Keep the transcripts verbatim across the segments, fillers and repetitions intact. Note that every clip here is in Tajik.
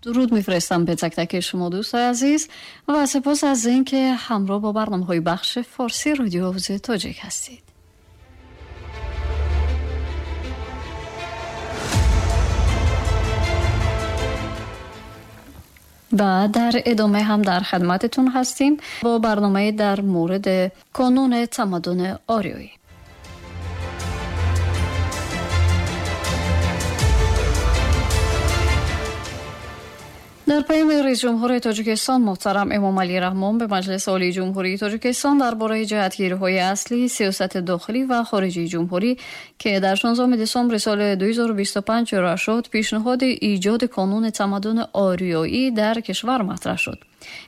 درود میفرستم به تک تک شما دوستای عزیز و سپاس از اینکه همراه با برنامه‌های بخش فارسی رادیو آواز تاجیک هستید. و در ادامه هم در خدمتتون هستیم با برنامه در مورد کانون تمدن آریایی. در پیام رئیس جمهور تاجیکستان محترم امام علی رحمان به مجلس عالی جمهوری تاجیکستان درباره جهتگیری‌های اصلی سیاست داخلی و خارجی جمهوری که در شانزدهم دسامبر سال دو هزار و بیست و پنج ارائه شد، پیشنهاد ایجاد کانون تمدن آریایی در کشور مطرح شد.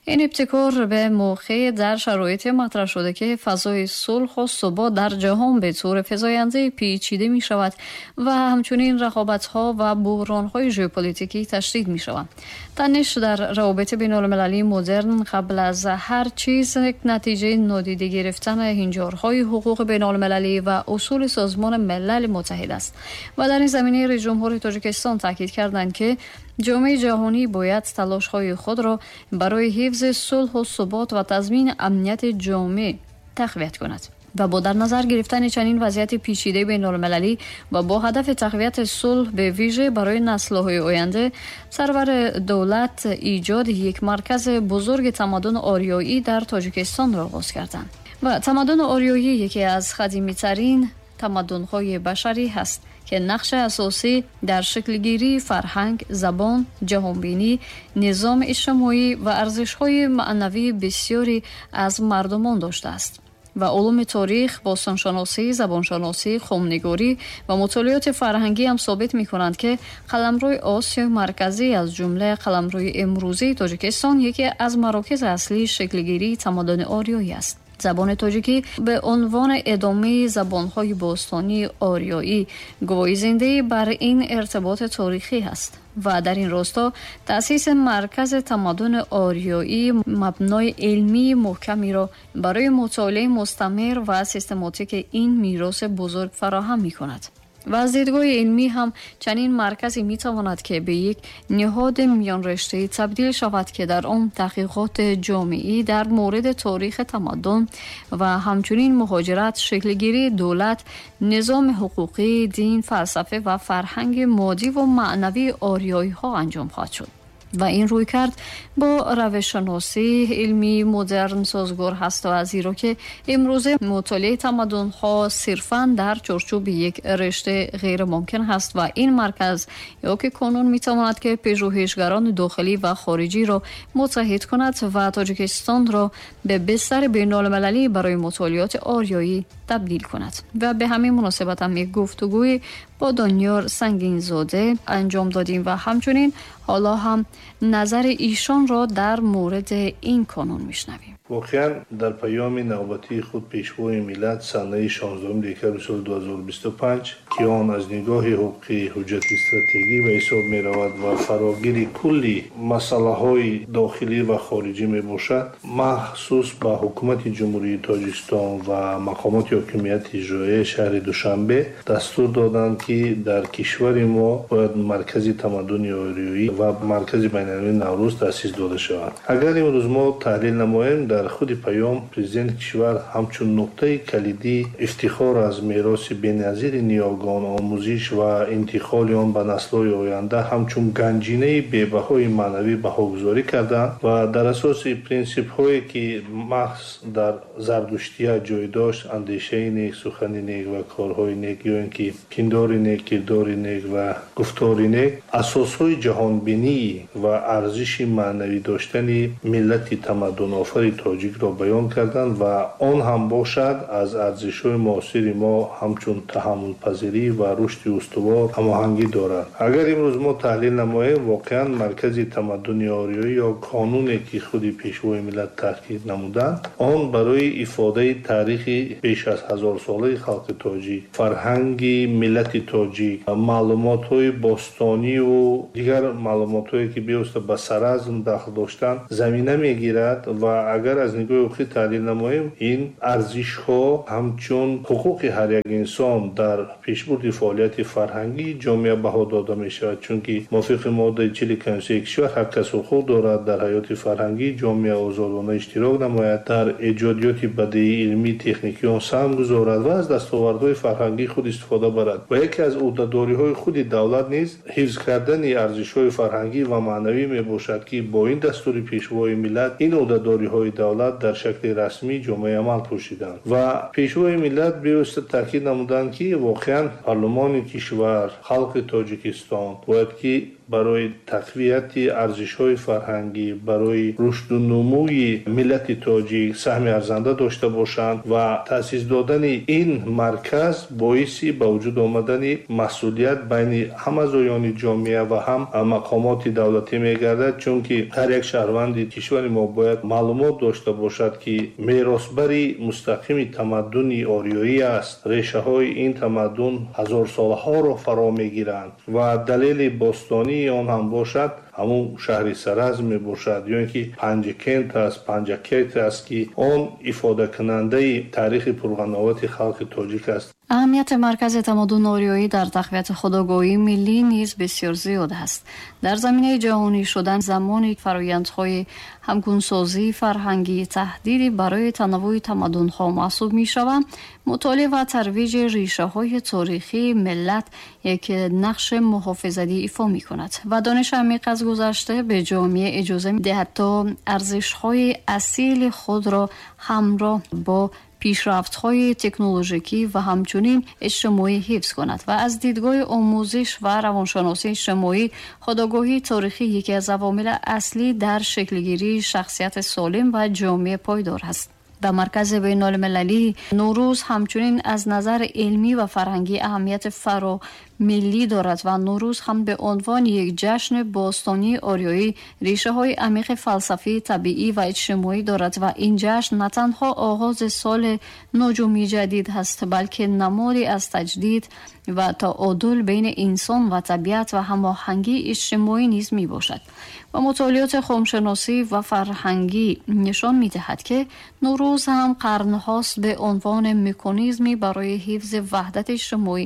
این ابتکار به موقع در شرایط مطرح شده که فضای صلح و ثبات در جهان به طور فزاینده پیچیده می شود و همچنین رقابت‌ها و بحران‌های ژئوپلیتیکی تشدید می شوند. تنش در روابط بین المللی مدرن قبل از هر چیز یک نتیجه نادیده گرفتن هنجارهای حقوق بین المللی و اصول سازمان ملل متحد است و در این زمینه رئیس جمهور تاجیکستان تاکید کردند که جامعه جهانی باید تلاش‌های خود را برای حفظ صلح و ثبات و تضمین امنیت جامعه تقویت کند و با در نظر گرفتن چنین وضعیت پیچیده بین‌المللی و با هدف تقویت صلح به ویژه برای نسل‌های آینده، سرور دولت ایجاد یک مرکز بزرگ تمدن آریایی در تاجیکستان را آغاز کردند. و تمدن آریایی یکی از قدیمی‌ترین تمدن‌های بشری هست که نقش اساسی در شکلگیری فرهنگ، زبان، جهانبینی، نظام اجتماعی و ارزش‌های معنوی بسیاری از مردمان داشته است و علوم تاریخ، باستانشناسی، زبانشناسی، خامنگاری و مطالعات فرهنگی هم ثابت می‌کنند که قلمرو آسیای مرکزی از جمله قلمرو امروزی تاجیکستان یکی از مراکز اصلی شکلگیری تمدن آریایی است. زبان تاجیکی به عنوان ادامه زبان‌های باستانی آریایی گواهی زنده بر این ارتباط تاریخی است و در این راستا تأسیس مرکز تمدن آریایی مبنای علمی محکمی را برای مطالعه مستمر و سیستماتیک این میراث بزرگ فراهم می‌کند. و از دیدگاه علمی هم چنین مرکزی میتواند که به یک نهاد میان رشته‌ای تبدیل شود که در آن تحقیقات جامعی در مورد تاریخ تمدن و همچنین مهاجرت، شکلگیری دولت، نظام حقوقی، دین، فلسفه و فرهنگ مادی و معنوی آریایی ها انجام خواهد شد. و این رویکرد با روش‌شناسی علمی مدرن سازگار هست و از زیرا که امروزه مطالعه تمدن‌ها صرفاً در چارچوب یک رشته غیر ممکن هست و این مرکز یا که کانون می‌تواند که پژوهشگران داخلی و خارجی را متحد کند و تاجیکستان را به بستر بین‌المللی برای مطالعات آریایی تبدیل کند. و به همین مناسبت هم یک گفتگوی با دانیار سنگینزاده انجام دادیم و همچنین حالا هم نظر ایشان را در مورد این کانون میشنویم. واقعا در پیام نوبتی خود پیشوای ملت سنه شانزدهم دکبر سال دو هزار و بیست و پنج که آن از نگاه حقوقی حجت استراتژی به حساب می رود و فراگیر کلی مسئله های داخلی و خارجی می باشد، مخصوص به حکومت جمهوری تاجیکستان و مقامات حاکمیت اجرایی شهر دوشنبه دستور دادند که در کشور ما باید مرکز تمدن آریایی و مرکز بین‌المللی نوروز تأسیس داده شود. اگر امروز ما تحلیل نماییم، در خود پیام پرزیدنت کشور همچون نقطه کلیدی افتخار از میراث بی‌نظیر نیاگان، آموزش و انتقال آن به نسل‌های آینده همچون گنجینه بی‌بهای معنوی بهاگذاری کردند و در اساس پرینسیپ‌هایی که محض در زردشتیه جای داشت، اندیشه نیک، سخن نیک و کارهای نیک، یا اینکه پندار نیک، کردار نیک و گفتار نیک، اساس‌های جهانبینی و ارزش معنوی داشتن ملت تمدن آفرین تاجیک را بیان کردند و آن هم باشد از ارزش‌های معاصر ما همچون تحمل پذیری و رشد استوار هماهنگی دارد. اگر امروز ما تحلیل نماییم، واقعا مرکز تمدن آریایی یا کانونی که خود پیشوای ملت تاکید نمودند، آن برای افاده تاریخ بیش از هزار ساله خلق تاجیک، فرهنگ ملت тоҷик, маълумотҳои бостониву дигар маълумотҳое, ки бевосита ба Саразм дахл доштанд, замина мегирад ва агар аз нигоҳи ҳуқуқӣ таҳлил намоем, ин арзишҳо ҳамчун ҳуқуқи ҳар як инсон дар пешбурди фаъолияти фарҳангии ҷомеа баҳо дода мешавад, чунки мувофиқи моддаи чили Конститутсияи кишвар ҳар кас ҳуқуқ дорад дар ҳаёти фарҳангии ҷомеа озодона иштирок намояд, дар эҷодиёти бадеӣ, илмӣ, техникӣ он саҳм гузорад ва аз дастовардҳои фарҳангии худ истифода барад. Ва яке аз ӯҳдадориҳои худи давлат низ ҳифз кардани арзишҳои фарҳангӣ ва маънавӣ мебошад, ки бо ин дастури Пешвои миллат ин ӯҳдадориҳои давлат дар шакли расмӣ ҷомеаи амал пӯшиданд. Ва Пешвои миллат бевосита таъкид намуданд, ки воқеан парлумони кишвар, халқи Тоҷикистон бояд ки барои тақвияти арзишҳои фарҳангӣ, барои рушду нумӯи миллати тоҷик саҳми арзанда дошта бошанд ва таъсис додани ин марказ боиси ба вуҷуд омадани масъулият байни ҳам аъзоёни ҷомеа ва ҳам мақомоти давлатӣ мегардад, чунки ҳар як шаҳрванди кишвари мо бояд маълумот дошта бошад, ки меросбари мустақими тамаддуни ориёӣ аст. Решаҳои ин тамаддун ҳазорсолаҳоро фаро мегиранд ва далели бостонӣ он ҳам бошад ҳамун шаҳри Саразм мебошад, ё ин ки Панҷакент аст, Панҷакент аст, ки он ифодакунандаи таърихи пурғановати халқи тоҷик аст. Аҳамияти маркази тамаддуни ориёӣ дар тақвияти худогоҳии миллӣ низ бисёр зиёд аст. Дар заминаи ҷаҳонӣ шудан замони фарояндҳои ҳамгунсозии фарҳангӣ таҳдиди барои танаввӯи тамаддунҳо маҳсуб мешаванд, мутолиа ва тарвиҷи решаҳои таърихии миллат як нақши муҳофизатӣ ифо мекунад ва дониши амиқ аз гузашта ба ҷомеа иҷоза медиҳад то арзишҳои асили худро ҳамроҳ бо пешрафтҳои технологикӣ ва ҳамчунин иҷтимоӣ ҳифз кунад ва аз дидгоҳи омӯзиш ва равоншиносии иҷтимоӣ худогоҳии таърихӣ яке аз авомили аслӣ дар шаклгирии шахсияти солим ва ҷомеаи пойдор аст. Ва маркази байналмилалии Наврӯз ҳамчунин аз назари илмӣ ва фарҳангӣ аҳамияти фаромиллӣ дорад ва Наврӯз ҳам ба унвони як ҷашни бостонии ориёӣ решаҳои амиқи фалсафӣ, табиӣ ва иҷтимоӣ дорад ва ин ҷашн на танҳо оғози соли нуҷумии ҷадид ҳаст, балки намоди аз таҷдид ва таъодул байни инсон ва табиат ва ҳамоҳангии иҷтимоӣ низ мебошад. Ва мутолиоти хумшиносӣ ва фарҳангӣ нишон медиҳад, ки Наврӯз ҳам қарнҳост ба унвони меканизме барои ҳифзи ваҳдати иҷтимоӣ,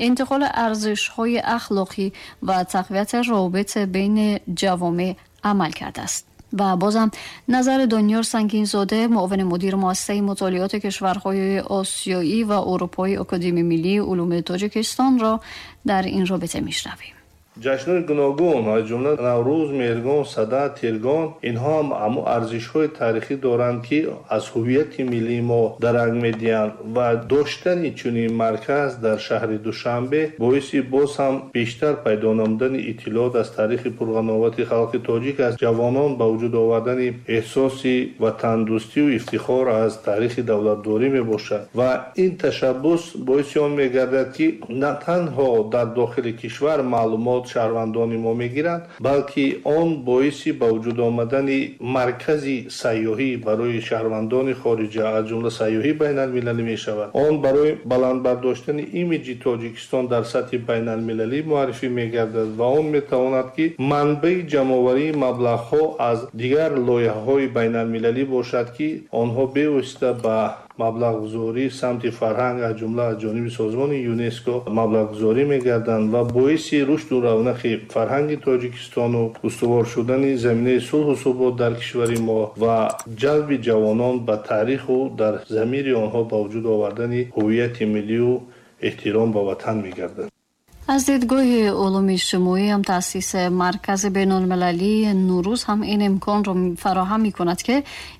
интиқоли арзишҳои ахлоқӣ ва тақвияти робит байни ҷавомеъ амал кардааст. Ва бозам назари Дониёр Сангинзода, муовини мудири муассисаи мутолиоти кишварҳои осиёӣ ва аврупоии Академияи миллии улуми Тоҷикистонро дар ин робита мешнавем. Ҷашнҳои гуногун, аз ҷумла Наврӯз, Меҳргон, Сада, Тиргон, инҳо ҳам ҳамон арзишҳои таърихӣ доранд, ки аз ҳувияти миллии мо дарак медиҳанд ва доштани чунин марказ дар шаҳри Душанбе боиси боз ҳам бештар пайдо намудани иттилоот аз таърихи пурғановати халқи тоҷик аст. Ҷавонон ба вуҷуд овардани эҳсоси ватандӯстию ифтихор аз таърихи давлатдорӣ мебошад ва ин ташаббус боиси он мегардад, ки на танҳо дар дохили кишвар маълумот шаҳрвандони мо мегиранд, балки он боиси ба вуҷуд омадани маркази сайёҳӣ барои шаҳрвандони хориҷа, аз ҷумла сайёҳии байналмилалӣ мешавад. Он барои баланд бардоштани имиҷи Тоҷикистон дар сатҳи байналмилалӣ муаррифӣ мегардад ва он метавонад, ки манбаи ҷамъоварии маблағҳо аз дигар лоиҳаҳои байналмилалӣ бошад, ки онҳо бевосита ба маблағгузорӣ самти фарҳанг, аз ҷумла аз ҷониби созмони ЮНЕСКО маблағгузорӣ мегарданд ва боиси рушду равнақи фарҳанги Тоҷикистону устувор шудани заминаи сулҳу субот дар кишвари мо ва ҷалби ҷавонон ба таъриху дар замири онҳо ба вуҷуд овардани ҳувияти миллию эҳтиром ба ватан мегардад. Аз дидгоҳи улуми иҷтимоӣ ҳам таъсиси маркази байналмилалии Наврӯз ҳам ин имконро фароҳам мекунад, ки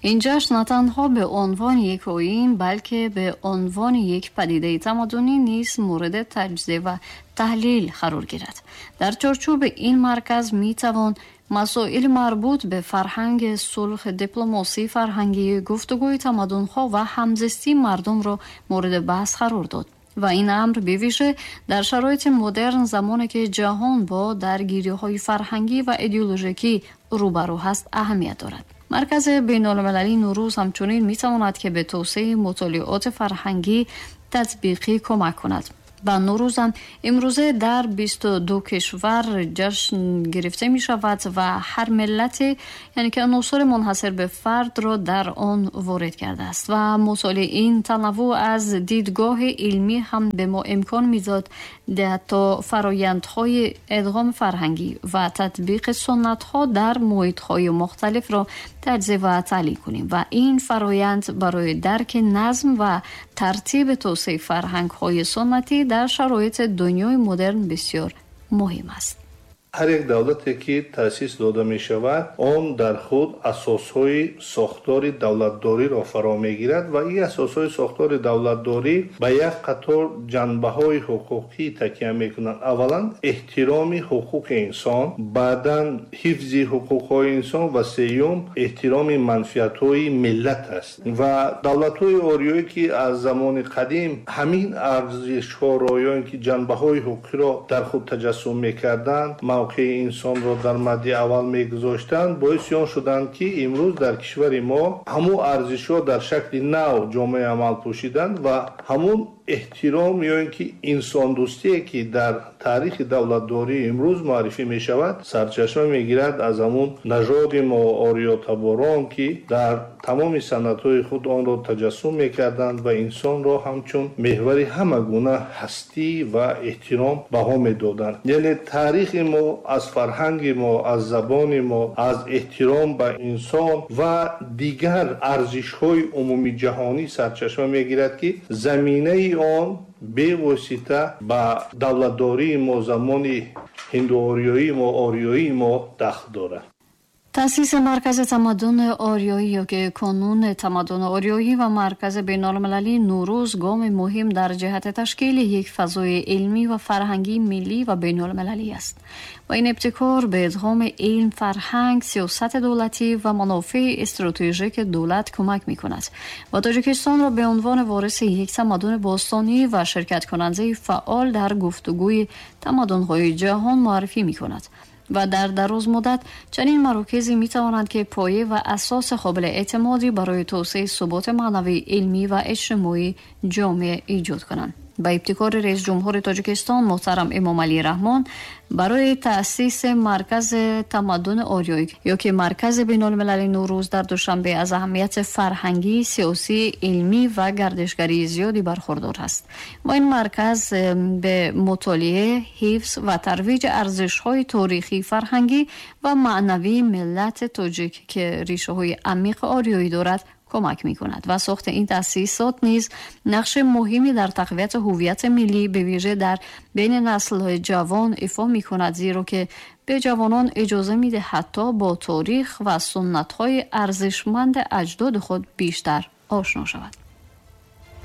ин ҷашн на танҳо ба унвони як оин, балки ба унвони як падидаи тамаддунӣ низ мавриди таҷзия ва таҳлил қарор гирад. Дар чорчӯби ин марказ метавон масоили марбут ба фарҳанги сулҳ, дипломасии фарҳангӣ, гуфтугӯи тамаддунҳо ва ҳамзистии мардумро мавриди баҳс қарор дод. Ва ин амр бевижа дар шароити модерн, замоне ки ҷаҳон бо даргириҳои фарҳангӣ ва идеологикӣ рӯбарӯ ҳаст, аҳамият дорад. Маркази байналмилалии Наврӯз ҳамчунин метавонад, ки ба тавсеаи мутолиоти фарҳангӣ татбиқӣ кӯмак кунад. و نوروز هم امروزه در بیست و دو کشور جشن گرفته می شود و هر ملت یعنی که عناصر منحصر به فرد را در آن وارد کرده است و مطالعه این تنوع از دیدگاه علمی هم به ما امکان میداد تا فرایندهای ادغام فرهنگی و تطبیق سنت‌ها در محیط‌های مختلف را تجزیه و تحلیل کنیم و این فرایند برای درک نظم و ترتیب توسعه فرهنگ‌های سنتی در شرایط دنیای مدرن بسیار مهم است. ҳар як давлате ки таъсис дода мешавад, он дар худ асосҳои сохтори давлатдориро фаро мегирад ва ин асосҳои сохтори давлатдорӣ ба як қатор ҷанбаҳои ҳуқуқӣ такя мекунанд. Аввалан, эҳтироми ҳуқуқи инсон, баъдан ҳифзи ҳуқуқҳои инсон ва сеюм эҳтироми манфиатҳои миллат аст. Ва давлатҳои ориёӣ ки аз замони қадим ҳамин арзишҳоро ё ин ки ҷанбаҳои ҳуқуқиро дар худ таҷассум мекарданд, мавқеи инсонро дар мадди аввал мегузоштанд, боиси он шуданд ки имрӯз дар кишвари мо ҳамун арзишҳо дар шакли нав ҷомеи амал пӯшиданд ва ҳамун эҳтиром ё ин ки инсондӯстие ки дар таърихи давлатдории имрӯз муаррифӣ мешавад, сарчашма мегирад аз ҳамун нажоди мо ориётаборон ки дар тамоми санъатҳои худ онро таҷассум мекарданд ва инсонро ҳамчун меҳвари ҳама гуна ҳастӣ ва эҳтиром баҳо медоданд. Яъне таърихи мо аз фарҳанги мо, аз забони мо, аз эҳтиром ба инсон ва дигар арзишҳои умумиҷаҳонӣ сарчашма мегирад ки заминаи он бевосита ба давлатдории мо замони ҳиндуориёии мо, ориёии мо дахл дорад. تأسیس مرکز تمدن آریایی یا که کانون تمدن آریایی و مرکز بین‌المللی نوروز گام مهم در جهت تشکیل یک فضای علمی و فرهنگی ملی و بین‌المللی است و این ابتکار به ادغام علم، فرهنگ، سیاست دولتی و منافع استراتژیک دولت کمک می‌کند و تاجیکستان را به عنوان وارث یک تمدن باستانی و شرکت کننده فعال در گفتگوی تمدن‌های جهان معرفی می‌کند. و در دراز مدت چنین مراکزی می توانند که پایه و اساس قابل اعتمادی برای توسعه ثبات معنوی، علمی و اجتماعی جامعه ایجاد کنند. با ابتکار رئیس جمهور تاجیکستان محترم امامعلی رحمان برای تأسیس مرکز تمدن آریایی یا که مرکز بین‌المللی نوروز در دوشنبه از اهمیت فرهنگی، سیاسی، علمی و گردشگری زیادی برخوردار است و این مرکز به مطالعه، حفظ و ترویج ارزش‌های تاریخی، فرهنگی و معنوی ملت تاجیک که ریشه‌های عمیق آریایی دارد کمک می کند و ساخت این تأسیسات نیز نقش مهمی در تقویت هویت ملی به ویژه در بین نسل‌های جوان ایفا می کند، زیرا که به جوانان اجازه می دهد حتی با تاریخ و سنت‌های ارزشمند اجداد خود بیشتر آشنا شود.